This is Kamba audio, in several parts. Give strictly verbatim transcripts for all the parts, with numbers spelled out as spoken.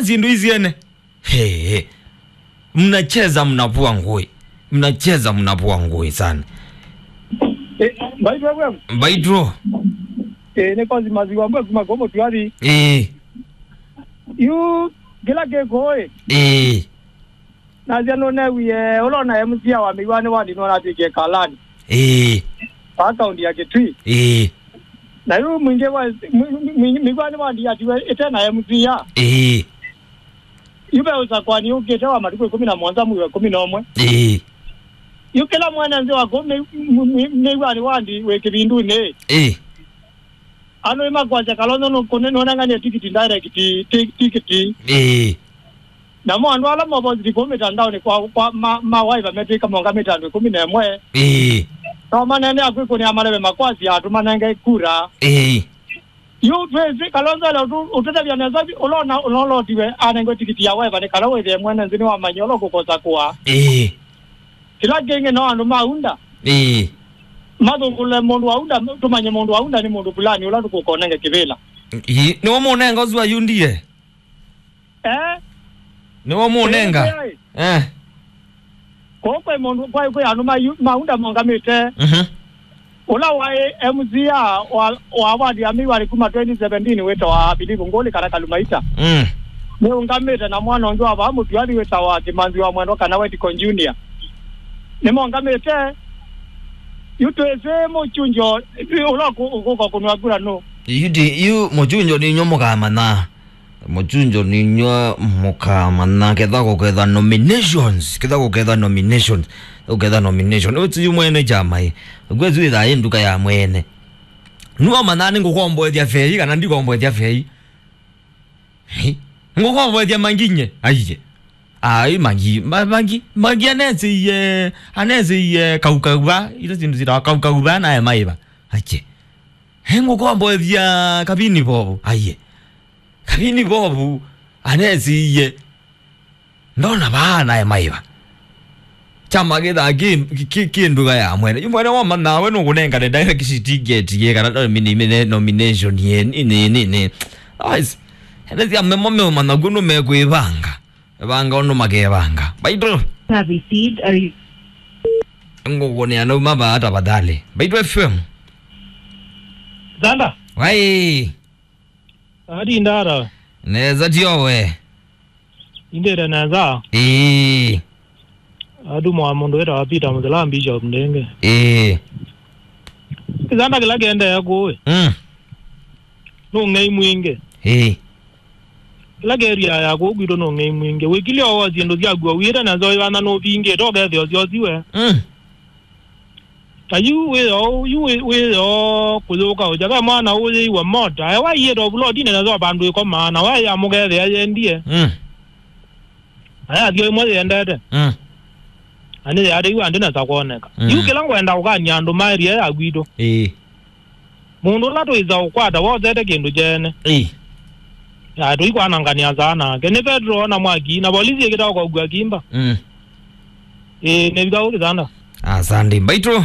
Syĩndũ isyene. Hey, hey. Mnacheza mnavua ngui. Mnacheza mnavua ngui sana. Eh, mbaitũ FM. Mbaitũ. Eh, nĩ Kosi Maziwa Mbwe kuma Komo Tuathi. Eh. Yu kĩla kĩkũĩ. Eh. Nasya nũnewie ũla ona M C A wa Mĩwani wa Ndinwa natwĩkie Kalani. Eh. Wa kaunti ya Kitui. Eh. Na yu mwingĩ wa mwi- mwi- mĩwani wa ndiatiwe ĩte na M C A. Ĩĩ. Yu ve ũsakwani ũkĩte wa matukũ ĩkũmi na mũonza mwei wa ĩkũmi na ũmwe. Ĩĩ. Yu kĩla mwene nthĩ wa kũu mĩ- mĩ- mĩ- mĩwani wa ndi wĩ kĩvindunĩ. Ĩĩ. Andũ nĩmakwasya Kalonzo nũnenganie tikiti direct ti- tikiti. Ĩĩ. Namo andũ ala mopositi kũu mĩtandaonĩ kwa, kwa ma, ma waiva metwĩka mongamĩte andũ ĩkũmi na ĩmwe. Ĩĩ. No maneenea kwĩkũnĩa maleve makwasya atũmanenge kura. Ĩĩ. Yu twĩsĩ Kalonzo ele ũtũ- ũtũtavya nesa vi ũla ũna- ũla ũlotiwe anengwe tikiti ya waiva nĩ kana wĩthĩe mwene nthĩ nĩwamanyie ũla ũkũkosa kũa. Ĩĩ. Kĩla kĩngĩ no andũ ma UDA. Ĩĩ. Mathũngũle mũndũ wa UDA, tũmanye mũndũ wa UDA nĩ mũndũ fulani ũla tũkũkonenge kĩvĩla. Ĩĩ, nĩwe mũnenga ũsu wa UDA? Eh? Nĩwe mũnenga? Ĩĩ, ĩĩ. Eh. Kũu kwĩ mũndũ, kwĩ, kwĩ andũ ma yu- ma UDA mongamĩte. Mhm. Ũla waĩ M C A wa, wa wadi ya Mĩwani kuma twenty seventeen wĩtawa Philip Ngũlĩ kana Kalumaita. Mm. Nĩũngamĩte na mwana ũngĩ wa vaa Mũtuathi wĩtawa Kĩmanzi wa Mwendwa kana Wetiko Junior. Nĩmongamĩte. Yu twĩsĩ mũchunjo, yu ũla ũkũ- ũkũka kũnwa kura nũ? Yu ti- yu mũchunjo nĩ inyuĩ mũkamanya. Mũchunjo nĩ inyuĩ mũkamanya ketha kũketha nominations, ketha kũketha nominations, kũketha nomination. Ũti yu mwene kyama ĩ. Kwezi wĩthaa ĩ nduka ya mwene. Nũmanya nĩ ngũkomboethya fei kana ndikomboethya fei. Hi? Ngũkomboethya manginye. Aiye. Ai, mangi, ma- mangi, mangi anesiie, anesiie kaukauva, ila sindu sitawa kaukauva naye maiva. Ache. He ngũkomboethya kavini vovu. Aiye. Kavini vovu anesiie. Ndona vaa naye maiva. Kyama kĩthaa kĩ- kĩ- kĩ nduka ya mwene. Yu mwene wamanya we nũkũnengane direct ticket ye kana nomini- mine- nomination ye nini nini. Guys, ende sya memo meũmanya kw'o nũmekwĩvanga. Vanga ũndũ makevanga. Mbaitũ. Have received a re- Ngũkũnĩa nauma vaa tafadhali. Mbaitũ F M. Zanda. Wai. Adi ndara. Neza tio we. Indĩte nesa. Ĩĩ. Andũ mwa mũndũ wĩtawa Peter Mũthela Bishop Ndenge. Ĩĩ. Kĩsanda kĩla kĩendeea kũũ ĩ. Mm. Nũng'ei mwingĩ. Ĩĩ. Kĩla kĩria ya kũũ kwitũ nũng'ei mwingĩ. Wĩkilye o syĩndũ syaku o wĩte na nzoĩ wana nũvingĩte ũkethĩa ũsyosi we. Mm. Ta yu wĩyo, yu wĩ- wĩyo kũyũka ũja ve mwana ũyĩiwa mota. Ewa iĩte ovulotine na zo vandũ ĩkomaa, na waya mũkethĩa yendie. Mm. Na yathio ĩmwe yendete. Mm. Na nĩ yateiwa andĩ nesa kwoneka. Mm. Yu kĩla ngwenda ũkany'a andũ maerie ya gwitũ. Ĩĩ. Mũndũ ũla tũĩsa ũkwata wosete kĩndũ kyene. Ĩĩ. Ya tũikwanangania saa nake. Nĩ Petro na mwaki, na polisi ĩkĩta ũkogua kimba. Mm. Ĩĩ, nĩ vitha ũkĩsanda. Asante. Mbaitũ.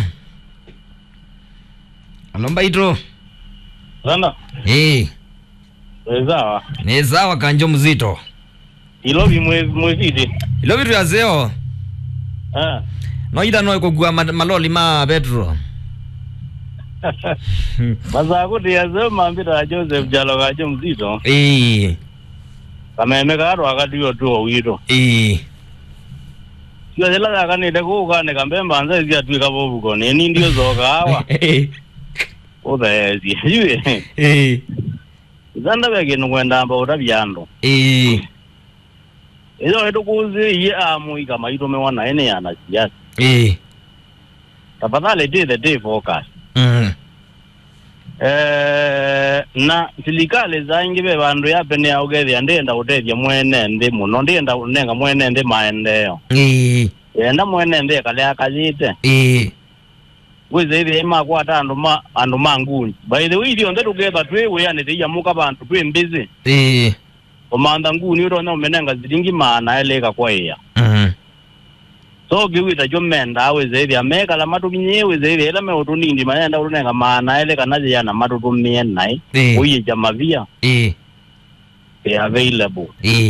Alo, Mbaitũ. Sanda. Ĩĩ. Wĩ sawa? Nĩ sawa, Kanjo Mzito. Ilovi mwĩ- mwĩsiti. Ilovi twĩ aseo. Ah. No ita no kũkua ma- maloli ma petro. Masaa kũtĩ aseo mambĩta Joseph Jalo Kanjo Mzito. Ĩĩ. Kameme kaa twakatiwe tuo witũ. Ĩĩ. Sio yĩla yakanĩte kũu kanĩka mbemba nzee syatw'ĩka vovuko, nĩni ndiũsooka awa. Ũtheesye. Yu ĩ. Ĩĩ. Ithanda ve kĩndũ ngwenda amba ũtavya andũ. Ĩĩ. Ĩyo ĩtũkũsĩĩie amũika maitũmĩwa naĩ nĩ anasiasa. Ĩĩ. Tafadhali tithe ti focus. Mm. Eh, na silikalĩ saa ingĩ ve vandũ yapenea ũkethĩa ndĩenda ũtethya mwene nthĩ mũno, ndĩenda ũnenga mwene nthĩ maendeeo. Ĩĩ. Yenda mwene nthĩ ekale akayĩte. Ĩĩ. Wĩsĩ ĩthĩa makwata andũ ma andũ ma nguni. By the way, ithyonthe tũketha twĩ wĩanĩ tĩiamũka vandũ twĩ mbĩsĩ. Ĩĩ. Ũmantha nguni ũtonya ũmenenga silingi maana elĩ ĩkakwaĩa. Mhm. So kĩu ĩtakyo mendaa wĩsĩ ĩthĩa mekala matũkinyĩe wĩsĩ ĩthĩa ĩla meũtũnindi mayenda ũtũnenga maana elĩ kana yĩana matũtũmĩe naĩ. Ĩĩ. Ũiĩkya mavia. Ĩĩ. Be available. Ĩĩ.